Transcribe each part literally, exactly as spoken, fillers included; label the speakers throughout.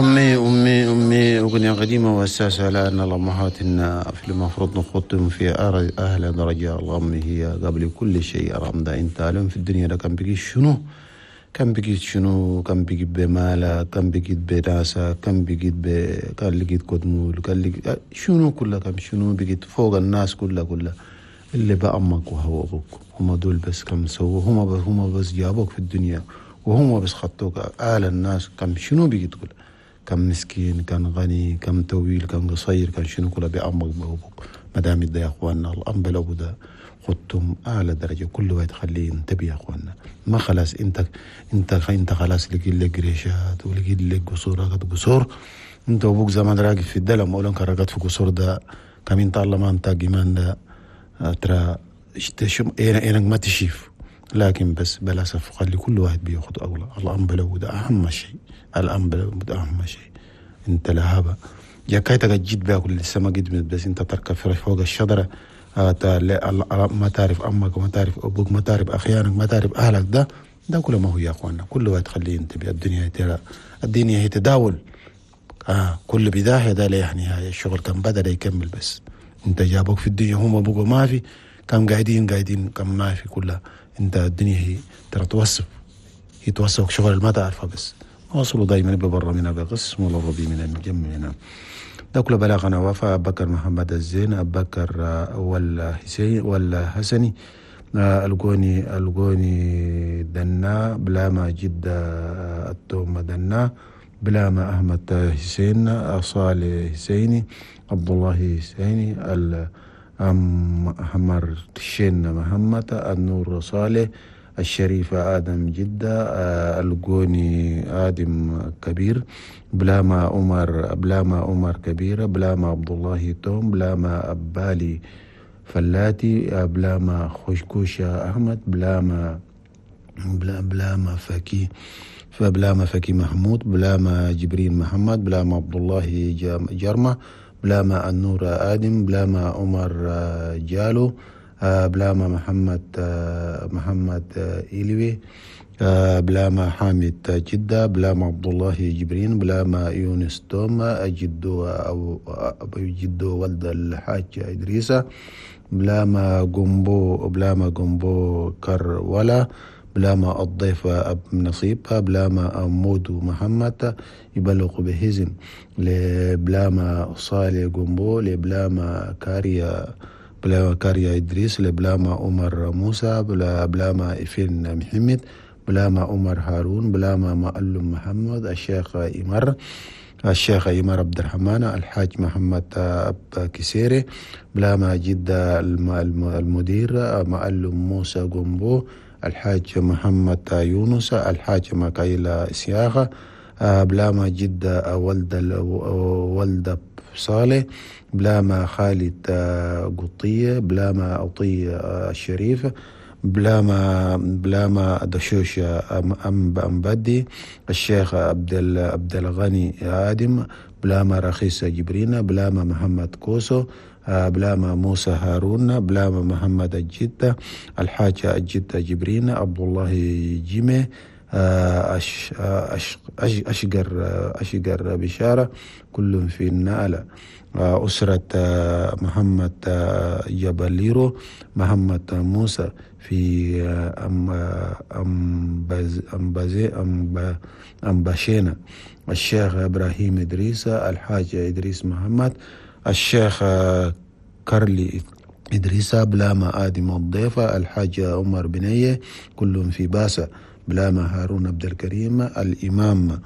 Speaker 1: أمي أمي أمي أغنية قديمة وأساسها لأن الأمهات في المفروض نخطهم في أهل درجة. الأم هي قبل كل شيء. الأم أنت لهم في الدنيا ده كان بقي شنو؟ كان بقيت شنو؟ كان بقيت بمالك، كان بقيت بناسك، كان بقيت ب كان لقيت كدمول، كان لقيت شنو كلها، كان شنو بقيت فوق الناس كلها كلها اللي بأمك وهو أبوك، هما دول بس كم سووا، هما بس هما بس جابوك في الدنيا وهما بس خطوك آل الناس. كم شنو بقيت كلها، كم مسكين، كان غني، كم طويل، كان قصير، كان شنو كلها بأمك وأبوك. ما دام ده يا أخواننا الأم بالأبو ده خدتم أعلى درجة، كل واحد خليه ينتبه يا أخواننا. ما خلاص أنت أنت أنت خلاص لقيت لك قريشات ولقيت لك قصور، رقد قصور. أنت وأبوك زمان راقد في الدلم أولا كان رقد في قصور ده كم أنت الله ما أنت جمان ده ترى شم إنك ما تشيف. لكن بس بلا سف خلي كل واحد بياخد أولى. الأم بلو ده أهم شيء، الأم بلو ده أهم شيء. أنت لهابة يا كايتك جيت بياكل لسه ما جيت بس أنت تركب فوق الشجرة ما تعرف أمك وما تعرف أبوك، ما تعرف أخيانك، ما تعرف أهلك. ده ده كله ما هو يا أخوانا. كل واحد خليه ينتبه. الدنيا ترى الدنيا هي تداول. آه كل بداية ده لا نهاية. الشغل كان بدأ يكمل بس أنت جابوك في الدنيا هم أبوك ما في، كم قاعدين قاعدين كم ما في كلها. أنت الدنيا هي ترى توصف، هي توصفك شغل ما تعرفها بس وصلوا دايما ببرا منها بقسم ولا ربي من الجم منها. ده كله بلاغنا وفاء أبو بكر محمد الزين، أبو بكر ولا حسين ولا حسني، القوني القوني دنا بلاما جدة التوم دنا بلاما أحمد حسين صالح حسيني عبد الله حسيني الأحمر شين محمد النور صالح الشريفة آدم جدة القوني آدم كبير بلاما عمر بلاما عمر كبيرة بلاما عبد الله توم بلاما أبالي فلاتي بلاما خشكوشة أحمد بلاما بلاما فكي فبلاما فكي محمود بلاما جبريل محمد بلاما عبد الله جرمة بلاما النور آدم بلاما عمر جالو بلاما محمد محمد إلوي بلاما حامد جدة بلاما عبد الله جبرين بلاما يونس توم جدو أو جدو ولد الحاج إدريسة بلاما جنبو بلاما جنبو كرولا بلاما الضيف أب نصيب بلاما مودو محمد يبلغ بهزم لبلاما صالح جنبو لبلاما كاريا بلاما كاريا إدريس لبلاما عمر موسى بلا بلاما إفين محمد بلاما عمر هارون بلاما معلم محمد الشيخ إمر الشيخ إمر عبد الرحمن الحاج محمد أب كسيري بلاما جدة المدير معلم موسى جنبو الحاج محمد يونس الحاج مكايلا إسياخة بلاما جدة ولد ولد صالح بلاما خالد قطية بلاما عطية الشريف بلاما بلاما دشوش أم أمبدي الشيخ عبد عبد الغني آدم بلاما رخيصة جبرينا بلاما محمد كوسو بلاما موسى هارون بلاما محمد الجدة الحاج الجدة جبرينا عبد الله جيمي أش أش أشقر أشقر بشارة كل في النالة أسرة محمد جبليرو محمد موسى في أم أم أم أمباشينا الشيخ إبراهيم إدريس الحاج إدريس محمد الشيخ كارلي إدريس بلاما آدم الضيفة الحاج عمر بنية كلهم في باسة بلاما هارون عبد الكريم الإمام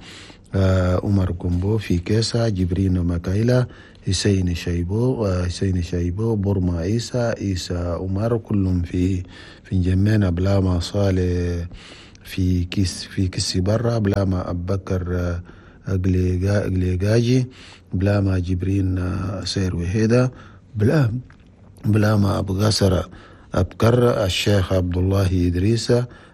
Speaker 1: عمر كومبو في كيسا جبرين مكايلا حسين شايبو حسين شايبو برما عيسى عيسى عمر كلهم في في جمينا بلاما صالح في كيس في كيس برا بلاما أبو بكر أقليقاجي بلاما جبرين سير وهيدا بلا بلاما أبو قصر أبكر الشيخ عبد الله إدريس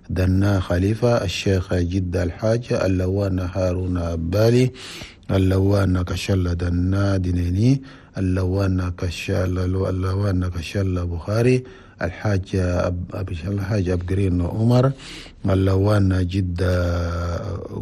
Speaker 1: دنا خليفة الشيخ جدة الحاج اللوان هارون أبالي اللوان كشلة دنا دينيني اللوان كشلة اللوان كشلة بخاري الحاج الحاج أبقرين عمر، اللوان جدة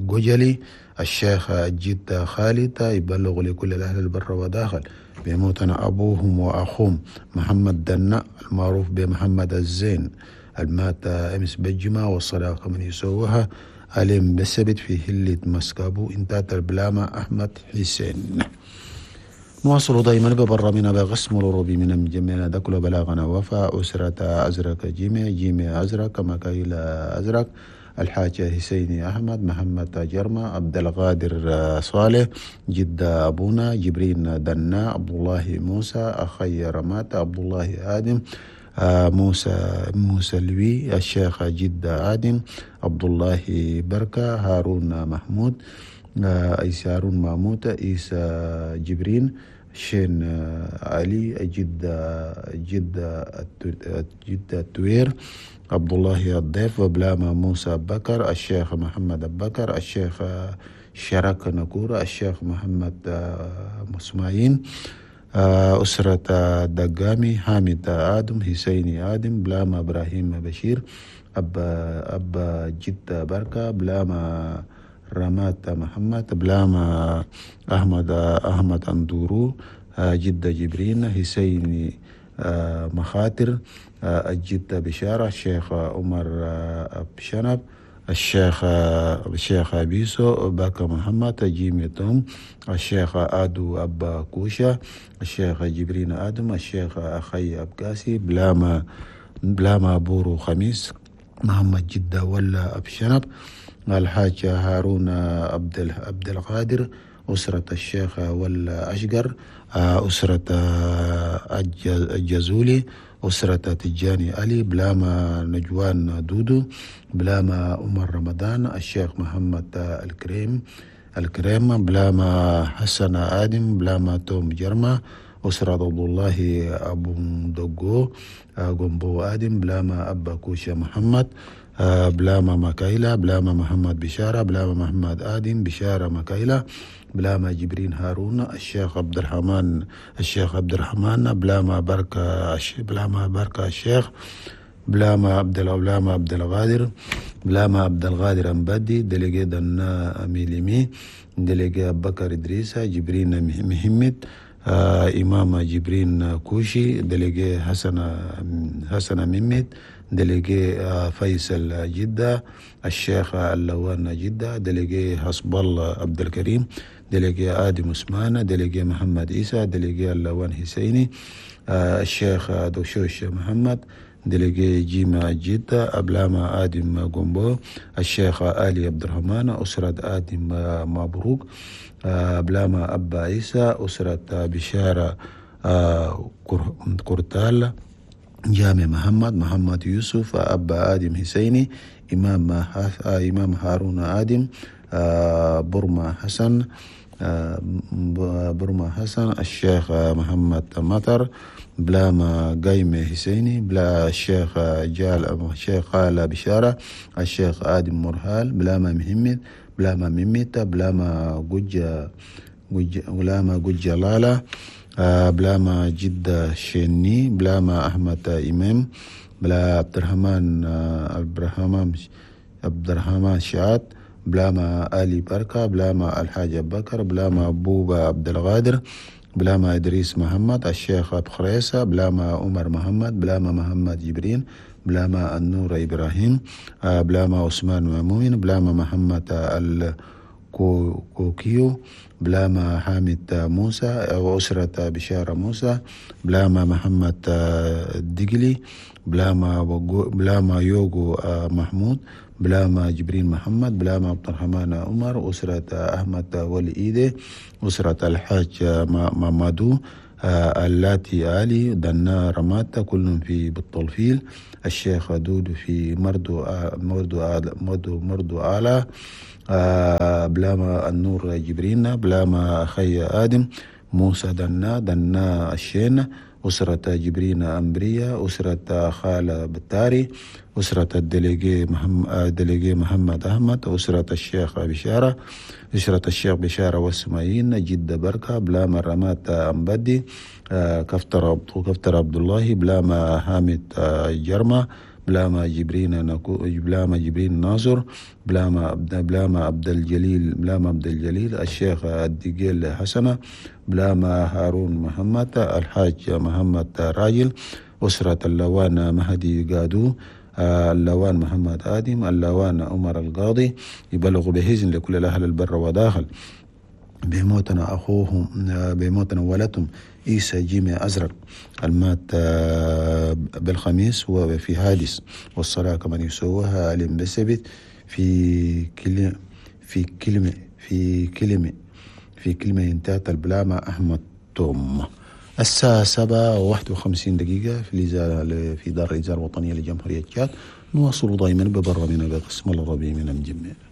Speaker 1: جوجلي، الشيخ جدة خالد، يبلغ لكل الأهل البر وداخل بموتنا أبوهم وأخوهم محمد دنا المعروف بمحمد الزين المات أمس بالجمعة، والصداقة من يسووها عليم بالسبت في هلة مسكابو انتات البلامة أحمد حسين. نواصل دائما ببرامنا بقسم الروبي من جميعنا دكل بلاغنا وفاء أسرة أزرق جيمي جيمي أزرق مكايل أزرق، الحاج حسيني أحمد، محمد جرمة، عبد القادر صالح، جدة أبونا، جبرين دنا، عبد الله موسى، أخي رمات، عبد الله آدم، موسى موسى لوي، الشيخ جدة آدم، عبد الله بركة، هارون محمود، عيسى هارون محمود، عيسى جبرين، شين علي، جدة جدة جدة التوير، عبد الله الضيف، وبلاما موسى بكر، الشيخ محمد بكر، الشيخ شرك نكورة، الشيخ محمد مسماعين، أسرة دقامي، حامد آدم، حسيني آدم، بلاما إبراهيم بشير، أبا أبا جدة بركة، بلاما رمات محمد، بلاما أحمد أحمد أندورو، جدة جبرين، حسيني مخاطر، الجدة بشارة، الشيخ عمر بشنب، الشيخ الشيخ أبيسو باكا محمد، جيمي توم، الشيخ آدو أبا كوشا، الشيخ جبرين آدم، الشيخ أخي أبكاسي، بلاما بلاما بورو خميس، محمد جدة ولا أبشنب، الحاج هارون عبد عبد القادر، أسرة الشيخ ولا أشقر، أسرة الجزولي، أسرة تجاني علي، بلاما نجوان دودو، بلاما عمر رمضان، الشيخ محمد الكريم الكريم، بلاما حسن آدم، بلاما توم جرما، أسرة عبد الله أبو دقو قنبو آدم، بلاما أبا كوشا محمد، بلاما مكايلة، بلاما محمد بشارة، بلاما محمد آدم بشارة مكايلة، بلاما جبرين هارون، الشيخ عبد الرحمن الشيخ عبد الرحمن، بلاما بركة بلاما بركة الشيخ، بلاما عبد بلاما عبد القادر، بلاما عبد القادر أمبدي، دلقي دنا أميليمي، دلقي بكر إدريسة، جبرين مهمت، آه إمام جبرين كوشي، دلقي حسن حسن ممت، دلقي فيصل جدة، الشيخ اللوان جدة، دلقي حسب الله عبد الكريم، دلقي آدم عثمان، دلقي محمد عيسى، دلقي اللوان حسيني، آه الشيخ دوشوش محمد، دلقي جيما جدة، أبلاما آدم قنبو، الشيخ آلي عبد الرحمن، أسرة آدم مبروك، بلاما أبا عيسى، أسرة بشارة كورتال، جامع محمد، محمد يوسف، أبا آدم حسيني، إمام إمام هارون آدم، برما حسن برما حسن، الشيخ محمد مطر، بلاما قايمة حسيني، بلا الشيخ جال الشيخ خالة بشارة، الشيخ آدم مرهال، بلاما محمد، بلاما ميميتا، بلاما جوجا بلاما جوجا لالا، بلاما جدة شيني، بلاما أحمد إمام، بلا عبد الرحمن عبد الرحمن عبد الرحمن شعات، بلاما آلي بركة، بلاما الحاج بكر، بلاما بوبا عبد القادر، بلاما إدريس محمد، الشيخ أبو خريسة، بلاما عمر محمد، بلاما محمد جبرين، بلاما النور إبراهيم، بلاما عثمان مامون، بلاما محمد الكوكيو، بلاما حامد موسى وأسرة بشارة موسى، بلاما محمد الدقلي، بلاما بلاما يوغو محمود، بلاما جبرين محمد، بلاما عبد الرحمن عمر، أسرة أحمد ولي إيدي، أسرة الحاج مامادو، اللاتي علي، دنا رماتا، كلهم في بالطلفيل، الشيخ دودو في مردو مردو مردو مردو آلا، بلاما النور جبرين، بلاما أخي آدم، موسى دنا دنا الشين، أسرة جبرين أمبرية، أسرة خالة بتاري، أسرة ال délégué محمد délégué محمد أحمد، أسرة الشيخ بشارة، أسرة الشيخ بشارة والسمايين، جدة بركة، بلاما رمات أمبدي، كفتر كفتر عبد الله، بلاما حامد جرمة، بلاما جبرين نكو بلاما جبرين ناصر، بلاما بلاما عبد الجليل بلاما عبد الجليل، الشيخ الدقيل حسنة، بلاما هارون محمد، الحاج محمد راجل، أسرة اللوان مهدي قادو، اللوان محمد آدم، اللوان عمر القاضي. يبلغ بحزن لكل الأهل البر وداخل بموتنا أخوهم بموتنا ولدهم عيسى جيمي أزرق المات بالخميس وفي حادث، والصلاة كمان يسووها علم بسبت في كلمة في كلمة في كلمة في كلمة انتهت البلامة أحمد توم. الساعة سبعة وواحد وخمسين دقيقة في في دار الإذاعة الوطنية لجمهورية تشاد. نواصل دائما ببرنامجنا بقسم العربي من الجميع.